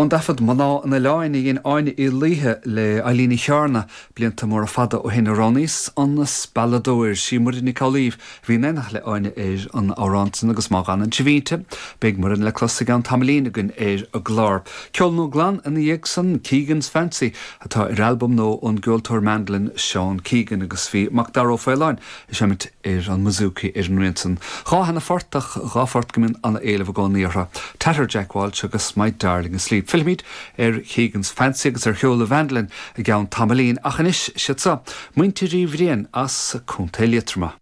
Ón dtaifead Mná an Oileáin a dhein Áine Uí Laoithe le Eilín Uí Chearna blianta móra fada ó shin a roghnaíos an Spealadóir. Sí Muireann Nic Amhlaoibh a bhí in éineacht le Áine ar an amhrán san agus má dh'fhanann sibh inti, beidh Muireann le clos i gceann tamaillín againn ar an gclár. Ceol nua glan ina dhiaidh san, Keegan's Fancy, atá ar albam nua ón gceoltóir mandolin Seán Keegan agus bhí Macdara Ó Faoláin ag seimint ar an mbouzouki ar an rian san. 2 sheana-phort ach 2 phort go mbíonn ana-éileamh i gcónaí orthu, Tatter Jack Walsh agus My Darling Asleep. Fillfimid ar Keegan's Fancy agus ar cheol an mhandolin i gceann tamaillín ach anois, siad seo, Muintir Uí Bhriain as Contae Liatroma.